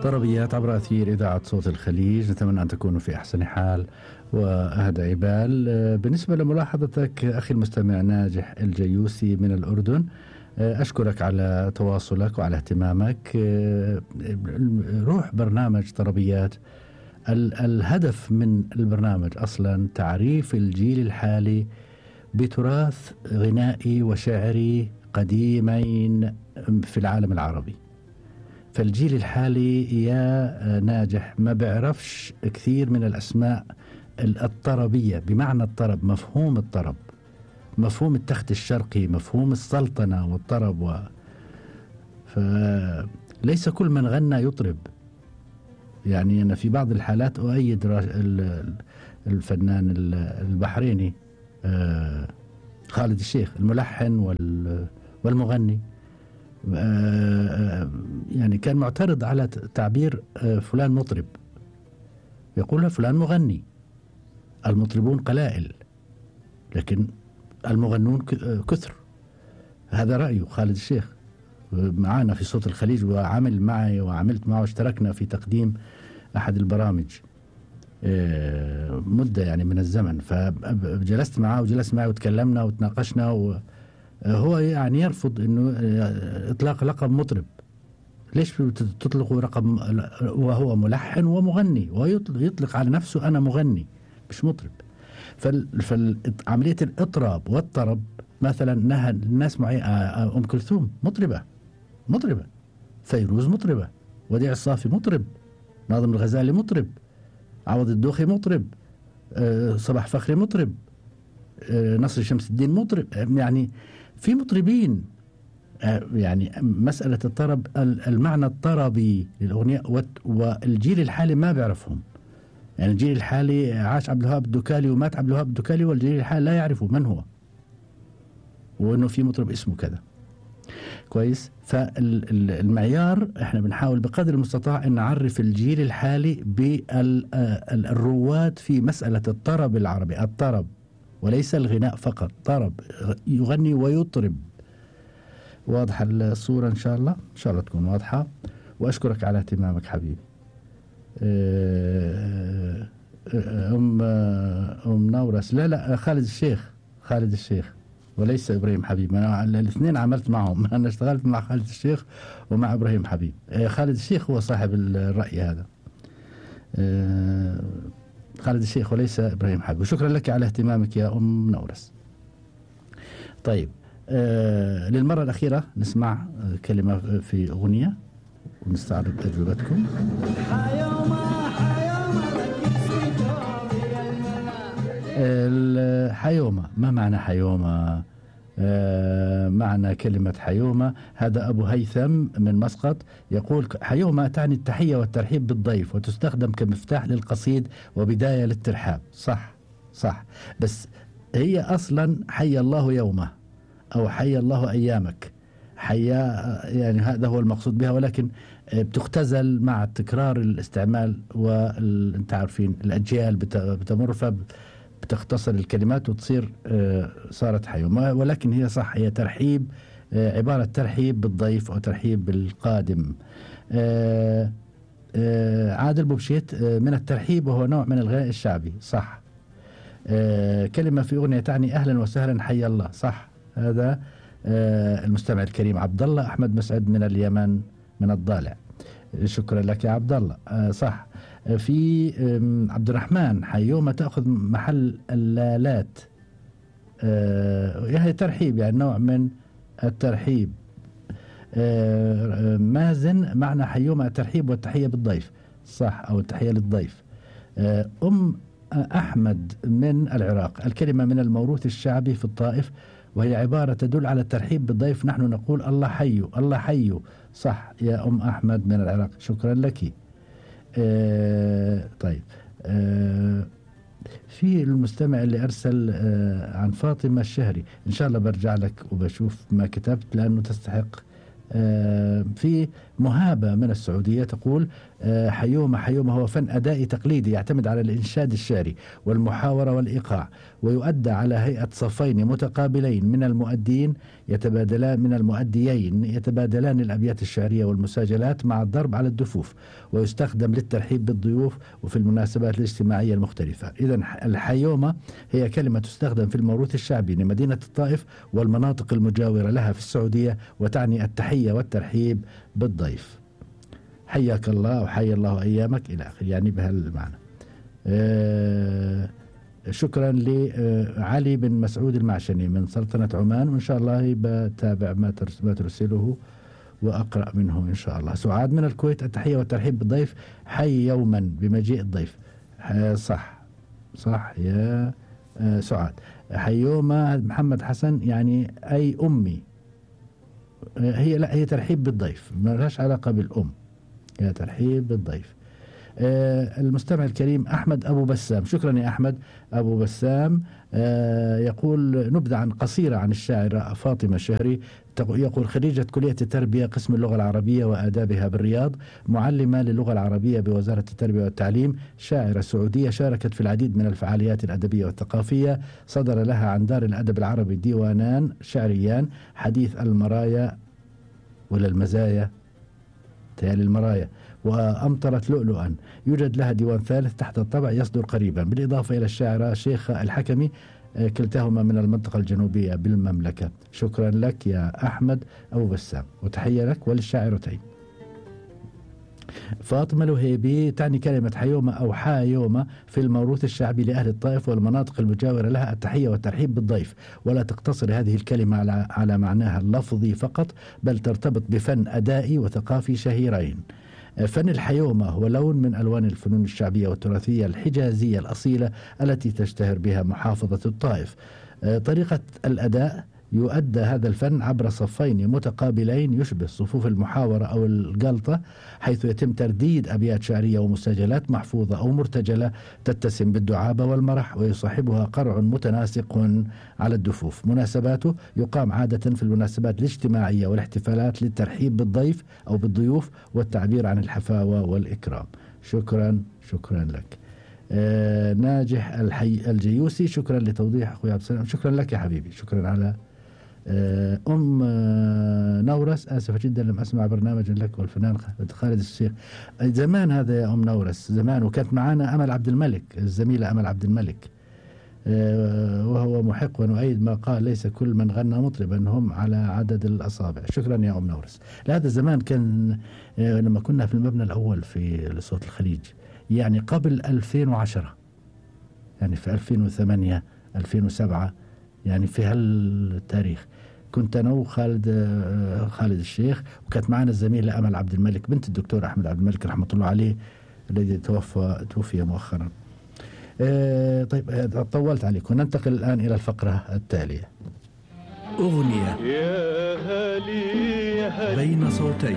طربيات عبر أثير إذاعة صوت الخليج. نتمنى أن تكونوا في أحسن حال وأهدى بال. بالنسبة لملاحظتك أخي المستمع ناجح الجيوسي من الأردن، أشكرك على تواصلك وعلى اهتمامك. روح برنامج طربيات، الهدف من البرنامج أصلا تعريف الجيل الحالي بتراث غنائي وشعري قديمين في العالم العربي. فالجيل الحالي يا ناجح ما بيعرفش كثير من الأسماء الطربية بمعنى الطرب، مفهوم الطرب، مفهوم التخت الشرقي، مفهوم السلطنة والطرب فليس كل من غنى يطرب. يعني أنا في بعض الحالات أؤيد الفنان البحريني خالد الشيخ الملحن والمغني. يعني كان معترض على تعبير فلان مطرب، يقول فلان مغني. المطربون قلائل لكن المغنون كثر. هذا رأيه خالد الشيخ، معنا في صوت الخليج وعمل معي وعملت معه، اشتركنا في تقديم أحد البرامج مدة يعني من الزمن. فجلست معه وجلس معي وتكلمنا وتناقشنا، وهو يعني يرفض انه اطلاق لقب مطرب. ليش تطلقوا رقم وهو ملحن ومغني، ويطلق على نفسه انا مغني مش مطرب. فعملية الاطراب والطرب مثلا نهى الناس معي ام كلثوم مطربة، فيروز مطربة، وديع الصافي مطرب، ناظم الغزالي مطرب، عوض الدوخي مطرب، صباح فخري مطرب، نصر شمس الدين مطرب. يعني في مطربين. يعني مسألة الطرب المعنى الطربي للأغنية، والجيل الحالي ما بيعرفهم. يعني الجيل الحالي عاش عبد الوهاب الدكالي ومات عبد الوهاب الدكالي، والجيل الحالي لا يعرفوا من هو وأنه في مطرب اسمه كذا. كويس. فالمعيار احنا بنحاول بقدر المستطاع ان نعرف الجيل الحالي بالرواد في مسألة الطرب العربي، الطرب وليس الغناء فقط، طرب يغني ويطرب. واضحة الصورة إن شاء الله؟ إن شاء الله تكون واضحة. وأشكرك على اهتمامك حبيبي. أم نورس، لا خالد الشيخ وليس إبراهيم حبيب. أنا الاثنين عملت معهم، أنا اشتغلت مع خالد الشيخ ومع إبراهيم حبيب. خالد الشيخ هو صاحب الرأي هذا، خالد الشيخ وليس إبراهيم حبيب. وشكرا لك على اهتمامك يا أم نورس. طيب، للمرة الأخيرة نسمع كلمة في أغنية ونستعرض تجربتكم. حيومة، ما معنى حيومة؟ معنى كلمة حيومة، هذا أبو هيثم من مسقط يقول حيومة تعني التحية والترحيب بالضيف، وتستخدم كمفتاح للقصيد وبداية للترحاب. صح، بس هي أصلا حي الله يومه أو حي الله أيامك، يعني هذا هو المقصود بها، ولكن بتختزل مع تكرار الاستعمال، وانت عارفين الأجيال بتمر بتختصر الكلمات وتصير صارت حيومة. ولكن هي صح، هي ترحيب، عبارة ترحيب بالضيف أو ترحيب بالقادم. عادل بوبشيت من الترحيب، وهو نوع من الغناء الشعبي. صح. كلمة في أغنية تعني أهلا وسهلا حي الله. صح. هذا المستمع الكريم عبد الله أحمد مسعد من اليمن من الضالع. شكرا لك يا عبد الله. صح. في عبد الرحمن حيومة تأخذ محل اللالات، هي ترحيب، يعني نوع من الترحيب. مازن معنى حيومة الترحيب والتحية بالضيف. صح، أو التحية للضيف. أم أحمد من العراق، الكلمة من الموروث الشعبي في الطائف، وهي عبارة تدل على الترحيب بالضيف. نحن نقول الله حيو الله حيو. صح يا أم أحمد من العراق، شكرا لك. طيب، في المستمع اللي أرسل عن فاطمة الشهري، إن شاء الله برجع لك وبشوف ما كتبت لأنه تستحق. في مهابة من السعودية تقول حيومة حيومة هو فن أدائي تقليدي يعتمد على الإنشاد الشعري والمحاورة والإيقاع، ويؤدى على هيئة صفين متقابلين من المؤديين يتبادلان الأبيات الشعرية والمساجلات مع الضرب على الدفوف، ويستخدم للترحيب بالضيوف وفي المناسبات الاجتماعية المختلفة. إذن الحيومة هي كلمة تستخدم في الموروث الشعبي لمدينة الطائف والمناطق المجاورة لها في السعودية، وتعني التحية والترحيب بالضيف. حياك الله وحيا الله أيامك إلى آخر، يعني بهالمعنى. شكرا لعلي بن مسعود المعشني من سلطنة عمان، وإن شاء الله بتابع ما ترسله وأقرأ منه إن شاء الله. سعاد من الكويت، التحية والترحيب بالضيف، حي يوما بمجيء الضيف. صح يا سعاد. حيومة محمد حسن يعني أي أمي، هي ترحيب بالضيف، ما لهاش علاقة بالأم، هي ترحيب بالضيف. المستمع الكريم أحمد أبو بسام، شكرا يا أحمد أبو بسام. يقول نبذة قصيرة عن الشاعرة فاطمة الشهري. يقول خريجة كلية التربية قسم اللغة العربية وآدابها بالرياض، معلمة للغة العربية بوزارة التربية والتعليم، شاعرة سعودية شاركت في العديد من الفعاليات الأدبية والثقافية. صدر لها عن دار الأدب العربي ديوانان شعريان، حديث المرايا ولا المزايا تالي المرايا، وأمطرت لؤلؤا. يوجد لها ديوان ثالث تحت الطبع يصدر قريبا، بالإضافة إلى الشاعرة شيخة الحكمي، كلتاهما من المنطقة الجنوبية بالمملكة. شكرا لك يا أحمد أبو بسام، وتحية لك وللشاعرتين. فاطمة الوهيبي تعني كلمة حيومة أو حايومة في الموروث الشعبي لأهل الطائف والمناطق المجاورة لها التحية والترحيب بالضيف، ولا تقتصر هذه الكلمة على معناها اللفظي فقط، بل ترتبط بفن أدائي وثقافي شهيرين. فن الحيومة هو لون من ألوان الفنون الشعبية والتراثية الحجازية الأصيلة التي تشتهر بها محافظة الطائف. طريقة الأداء يؤدى هذا الفن عبر صفين متقابلين يشبه صفوف المحاورة أو الجلطة، حيث يتم ترديد أبيات شعرية ومسجلات محفوظة أو مرتجلة تتسم بالدعابة والمرح، ويصاحبها قرع متناسق على الدفوف. مناسباته يقام عادة في المناسبات الاجتماعية والاحتفالات للترحيب بالضيف أو بالضيوف والتعبير عن الحفاوة والإكرام. شكرا لك. ناجح الجيوسي، شكرا لتوضيح أخوي عبد السلام. شكرا لك يا حبيبي، شكرا على نورس. آسفة جدا لم أسمع برنامج لك والفنان خالد الشيخ. زمان هذا يا نورس، زمان، وكانت معنا أمل عبد الملك، الزميلة أمل عبد الملك، وهو محق ونؤيد ما قال ليس كل من غنى مطربا، هم على عدد الأصابع. شكرا يا نورس. هذا زمان كان لما كنا في المبنى الأول في صوت الخليج، يعني قبل 2010، يعني في 2008 2007، يعني في هالتاريخ كنت أنا وخالد الشيخ، وكانت معنا الزميلة أمل عبد الملك بنت الدكتور أحمد عبد الملك رحمة الله عليه الذي توفي مؤخرا. طيب طولت عليكم، ننتقل الآن إلى الفقرة التالية. أغنية بين صوتين.